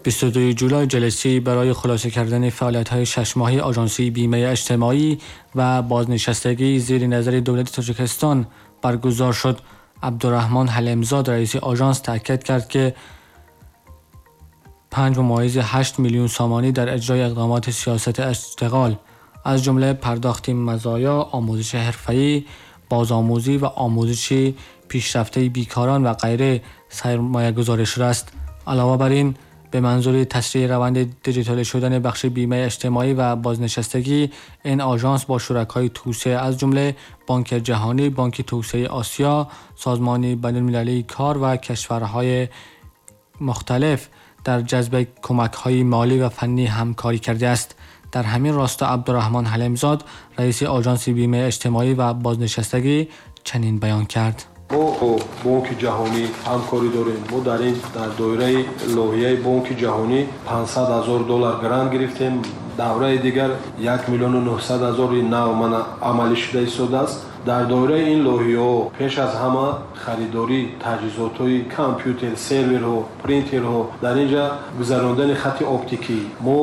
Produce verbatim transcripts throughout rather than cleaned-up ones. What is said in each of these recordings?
بیست و دو جولای جلسه برای خلاصه کردن فعالیت‌های شش ماهه آژانس بیمه اجتماعی و بازنشستگی زیر نظر دولت تاجیکستان برگزار شد. عبدالرحمن حلیمزاد رئیس آژانس تاکید کرد که پنج ممیز هشت میلیون سامانی در اجرای اقدامات سیاست اشتغال از جمله پرداخت مزایا، آموزش حرفه‌ای، بازآموزی و آموزش پیشرفته بیکاران و غیره سرمایه‌گذاری شده است. علاوه بر این به منظور تسریع روند دیجیتال شدن بخش بیمه اجتماعی و بازنشستگی، این آژانس با شرکای توسعه از جمله بانک جهانی، بانک توسعه آسیا، سازمان بین‌المللی کار و کشورهای مختلف در جذب کمک‌های مالی و فنی همکاری کرده است. در همین راستا عبدالرحمن حلیمزاد رئیس آژانس بیمه اجتماعی و بازنشستگی چنین بیان کرد: мо бо Бонки Ҷаҳонӣ ҳамкорӣ дорем. Мо дар ин дар доираи лоиҳаи Бонки Ҷаҳонӣ панҷсад ҳазор доллар грант гирифтем. Давраи дигар як миллиону нӯҳсад ҳазори нав мана амалӣ шуда истодааст. Дар доираи ин лоиҳаҳо пеш аз ҳама харидории таҷҳизотҳои компютер, серверҳо, принтерҳо, дар ин ҷа гузарондани хати оптикӣ. Мо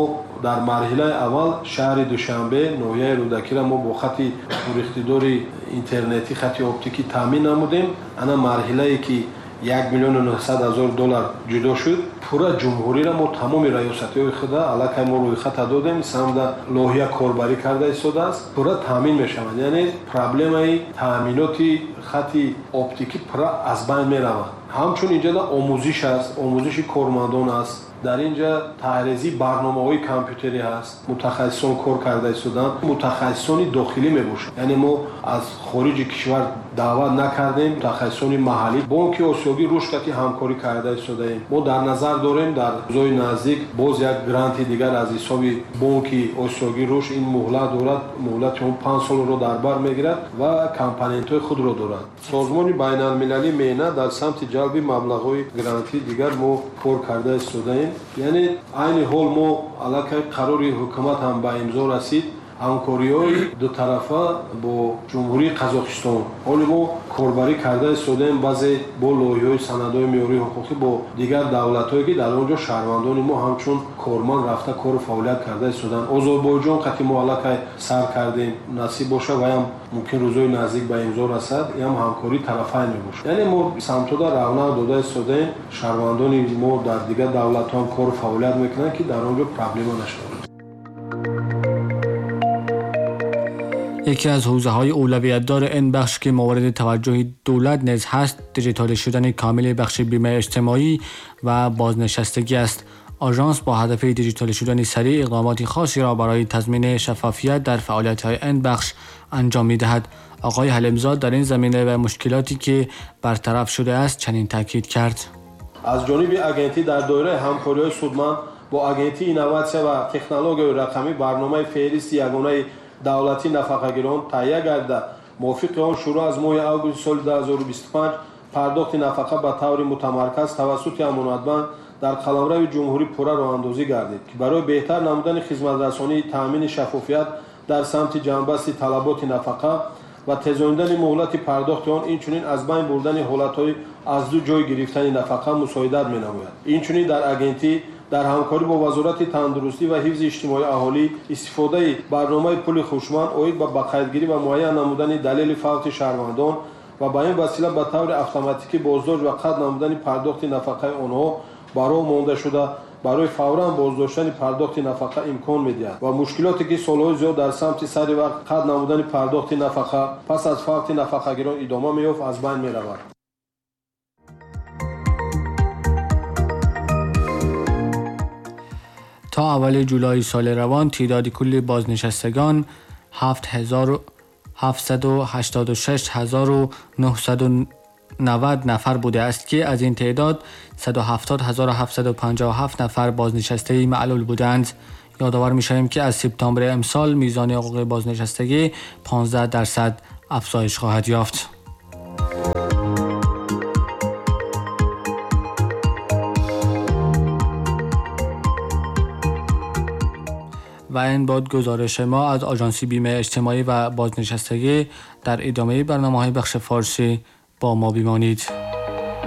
дар марҳилаи аввал шаҳри Душанбе, ноҳияи Рӯдакиро мо бо хати пуриқтидори интернетӣ, хати оптикӣ таъмин намудем. Ана марҳилае ки як миллиону нӯҳсад ҳазор доллар ҷудо шуд, пурра ҷумҳуриро мо тамоми раёсатҳои худа аллакай мо рӯйхата додем, самда лоиҳа корбарӣ карда истодааст, пурра таъмин мешаванд. Яъне проблемаи таъминоти хати оптикӣ пурра аз байн меравад. Ҳамчун инҷа омӯзиш аст, омӯзиши кормандон аст, дар инҷа таҳризии барномаҳои компютерӣ ҳаст, мутахассисон кор карда истоданд, мутахассисони дохилӣ мебошанд. Яъне мо аз хориҷи кишвар даъват накардем, мутахассисони маҳаллӣ. Бонки Осиёгӣ рушд кати ҳамкорӣ карда истодаем. Мо дар назар дорем дар рӯзҳои наздик боз як гранти дигар аз ҳисоби Бонки Осиёгӣ рушд, ин муҳлат дорад, муҳлати он панҷ солро дар бар мегирад ва компонентҳои худро дорад. Созмони байналмилалии меҳнат дар самти ҷалби маблағҳои грантии дигар мо кор карда истодаем. Яъне айни ҳол мо аллакай қарори ҳукумат ҳам ба имзо расид, ҳамкориҳои дутарафа бо Ҷумҳурии Қазоқистон. Ҳоло мо корбарӣ карда истодаем баъзе бо лоиҳаҳои санадҳои меъёрии ҳуқуқӣ бо дигар давлатҳое ки дар он ҷо шаҳрвандони мо ҳамчун корманд рафта кору фаъолият карда истоданд. Озарбойҷон қати мо аллакай сар кардем, насиб боша ваям мумкин рӯзҳои наздик ба имзо расад, ям ҳамкории тарафайн мебошад. Яъне мо самтода равнақ дода истодаем, шаҳрвандони мо дар дигар давлатҳо ҳам кору фаъолият мекунанд ки дар он ҷо проблема нашавад. یکی از حوزه‌های اولویت‌دار این بخش که مورد توجه دولت نیز هست، دیجیتال شدن کامل بخش بیمه اجتماعی و بازنشستگی است. آژانس با هدف دیجیتال شدن سریع اقدامات خاصی را برای تضمین شفافیت در فعالیت‌های این بخش انجام می‌دهد. آقای حلیمزاد در این زمینه و مشکلاتی که برطرف شده است چنین تاکید کرد: از جانب агентӣ дар доираи ҳамкориҳои судманд бо агентии инноватсия ва технологияи рақамӣ барномаи феҳристи ягонаи давлатии нафақагирон таҳия гардида, мувофиқи он шурӯъ аз моҳи августи соли ду ҳазору бисту панҷ пардохти нафақа ба таври мутамарказ тавассути амонатбанк дар қаламрави ҷумҳурӣ пурра роҳандозӣ гардид, ки барои беҳтар намудани хизматрасонии таъмини шаффофият дар самти ҷамъбасти талаботи нафақа ва тезондани муҳлати пардохти он, инчунин аз байн бурдани ҳолатҳои аз ду ҷой гирифтани нафақа мусоидат менамояд. Инчунин дар агентӣ дар ҳамкорӣ бо Вазорати тандурустӣ ва ҳифзи иҷтимоии аҳолӣ истифодаи барномаи пули хушманд оид ба бақайдгирӣ ва муайян намудани далели фавти шаҳрвандон ва ба ин васила ба таври автоматикӣ боздошт ва қатъ намудани пардохти нафақаи онҳо ба роҳ монда шуда, барои фавран боздоштани пардохти нафақа имкон медиҳад ва мушкилоте ки солҳои зиёд дар самти сари вақт қатъ намудани пардохти нафақа пас аз фавти нафақагирон идома меёфт, аз байн меравад. تا اول جولای سال روان تعداد کل بازنشستگان هفت هزار هفتصد و هشتاد و شش هزار و نهصد و نود نفر بوده است که از این تعداد صد و هفتاد هزار و هفتصد و پنجاه و هفت نفر بازنشسته معلول بودند. یادآور می‌شویم که از سپتامبر امسال میزان حقوق بازنشستگی پانزده درصد افزایش خواهد یافت. و این بود گزارش ما از آژانس بیمه اجتماعی و بازنشستگی. در ادامه برنامه‌های بخش فارسی با ما بمانید.